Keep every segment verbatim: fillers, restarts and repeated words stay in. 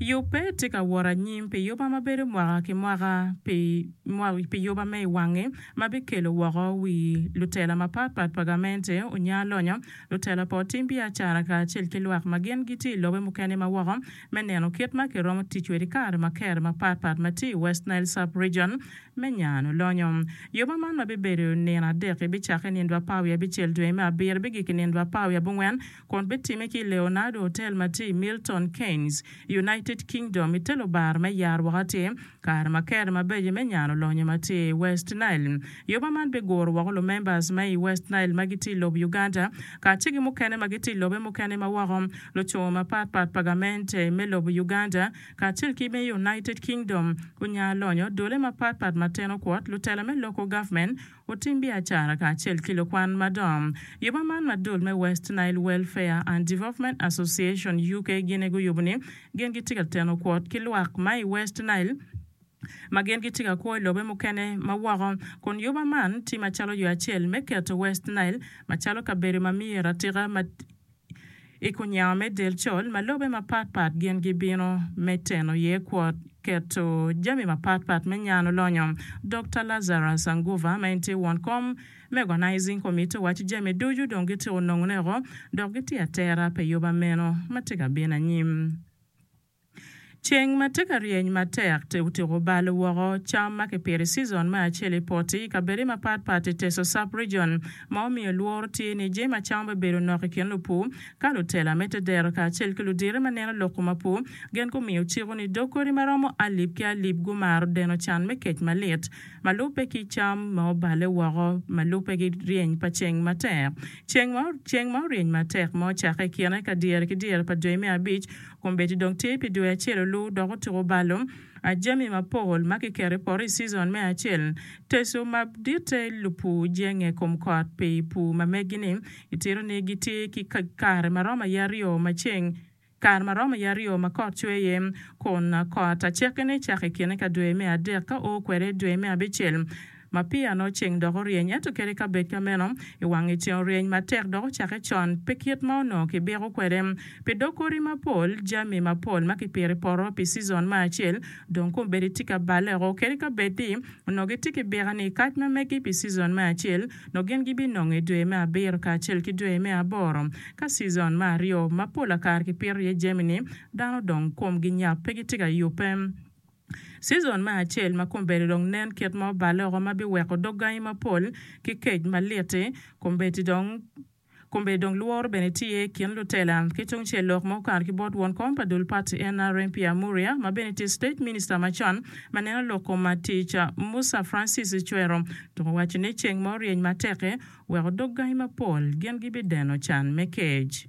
Yubbe tye ka wot anyim pi yuba ma bedo mwaka ki mwaka pi yuba me i wangi ma bikelo woko wi lutela mapatpat pa gamente onya lonyo, lutela pa otim biacara kacel ki lwak ma gin gitye i lobe mukene ma woko me neno kit ma kiromo tic kwede i kare ma kere mapatpat ma tye i West Nile Sub-Region me nyano lonyo. Yuba man ma bibedo nino adek-ki bicakke nino apar wiye abicel dwe me abiro bigik i nino apar wiye abongwen kun bitime ki i Leonardo Hotel ma tye i Milton Keynes, United Kingdom i te lubar me yar woko atir kare ma kere mabeco me nyano lonyo ma tye i West Nile. Yuba man biguro woko lumembers ma i West Nile ma gitye i lobo Uganda kacel ki mukene ma gitye i lobe mukene ma woko, lucungo mapatpat pa gamente me lobo Uganda kacel ki me United Kingdom gunya lonyo dole mapatpat ma teno kwot, lutela me local government, otim biacara kacel ki lukwan madongo. Yuba man ma dul me West Nile Welfare and Development Association UK gin guyubo ni gin gitye ka teno kwot ki lwak ma i West Nile ma gin gitye ka kwo i lobe mukene ma woko kun yuba man tye macalo yo acel me keto West Nile macalo kabedo ma myero atika ma i kunyango me del col ma lobe mapatpat gin gibino me teno iye kwot keto jami mapatpat me nyano lonyo. Dr. Lazarus Anguva ma en tye won kom me organizing committee owaco jami ducu dong gitye onongo dok gitye atera pi yuba meno ma tye ka bino anyim. Ceng ma tye ka ryeny matek otyeko balo woko cam ma kipito i season me acel i poti i kabedo mapatpat i Teso Sub-Region ma omiyo lworo tye ni jami acama bibedo nok i kin lupur ka lutela me tedero kacel ki ludire ma neno lok kom apur gin gumiyo ciko ni dog kodi maromo alip ki alip gumaro deno can me kec malit ma lubbe ki cam ma obale woko ma lubbe ki ryeny pa ceng matek. Ceng ma ceng ma oryeny matek ma ocakke i kine ka dyere ki dyere pa dwe me abic kombeddi dong tye pi dwe acel olu dok otyeko balo jami mapol ma kiketo i poto i season me acel. Teso ma ditte lupur jenge kom kot pi pur ma megi-ni itito ni gitye ki kare ma romo aye aryo ma ceng kare ma romo aye aryo ma kot cwe iye kun kot acekkene cako i kine ka dwe me adek ka o kwede dwe me abicel ma peya nongo ceng dok oryeny ento kadi ka bed ka meno i wangi ceng oryeny matek dok ocakke con pe kit ma onongo kibiko kwede pi dog kodi mapol jami mapol ma kipito i poto pi season me acel dong kombeddi tye ka baleko kadi ka bed ni onongo gitye ki bika ni kac ma megi pi season me acel nongo gin gibinongo i dwe me abiro kacel ki dwe me aboro ka season me aryo ma pol akare kipito iye jami-ni dano dong komgi nyap pe gitye ka yubbe. Season me acel ma kombeddi dong nen kit ma obaleko ma biweko dog gangi mapol ki kec malit-ti kombeddi dong kombeddi dong lworo bene tye i kin lutela ki tungcel lok ma okato ki bot won kom pa dul party NRM Pierre Muria ma bene tye state minister macon ma neno lok kom tic Musa Francis Ecwero dok owaco ni ceng ma oryeny matek-ki weko dog gangi mapol gin gibideno can me kec.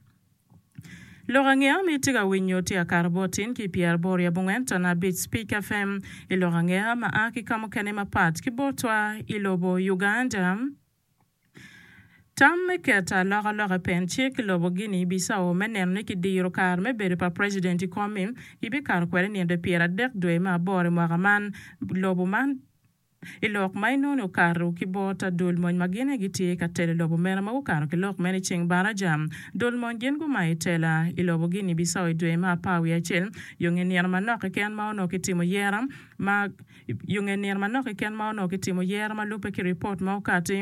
Lok angeya ma itye ka winyo tye akato bot tin ki pyeraboro i abongwen ton abic Speak FM i lok angeya ma a ki ka mukene mapat ki botwa i lobo Uganda. Tam me keto alokaloka i pen cik i lobo Guinea Bissau me neno ni kidiro kare me bedo pa president i kom-mi gibikato kwede nino pyeradek dwe me aboro i mwaka man lobo man i lok ma inongo okato ki bot dul mony ma gin gitye ka telo lobo meno ma gukato ki lok meno i ceng baraja dul mony gin gumayo tela i lobo Guinea Bissau i dwe me apar wiye acel yo nge nino manok keken ma onongo kitimo yera ma yo nge nino manok keken ma onongo kitimo yera ma lubbe ki ripot ma okati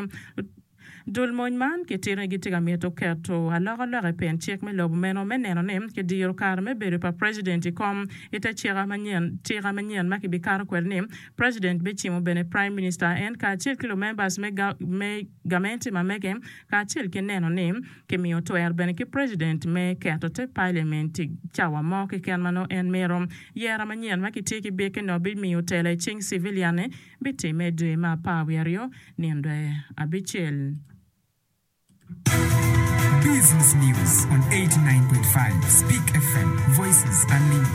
Dul mony man kitito ni gitye ka mito keto alokaloka i pen cik me lobo meno me neno ni kidiro kare me bedo pa president i kom i te cika manyen cika manyen ma kibikato kwede ni president bicimo bene prime minister en kacel ki lumembers me, ga, me gamenti ma mege kacel ki neno ni kimiyo twero bene ki president me keto te parliament i cawa mo keken ma nongo en mito. Yera manyen ma kitye ki biki-ni bimiyo tela i cing civilian bitime dwe me apar wiye aryo nino dwe abicel. Business News on eighty-nine point five Speak F M, Voices Unlimited.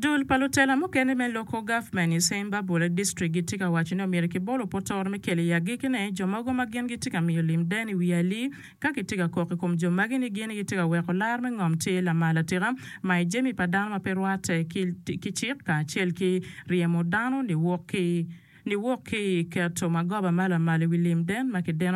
Dul pa lutela mukene me local government i Sembabule district gitye ka waco ni omyero kibolo potoro me kelo i agikine jo mogo ma gin gitye ka miyo lim den i wi ali ka gitye ka kok i kom jo magi ni gin gitye ka weko lar me ngom tye lamal atika ma i jami pa dano ma pe rwatte ki, ki cik kacel ki ryemo dano niwok ki niwok ki keto magoba ma lamal i wi lim den ma kideno.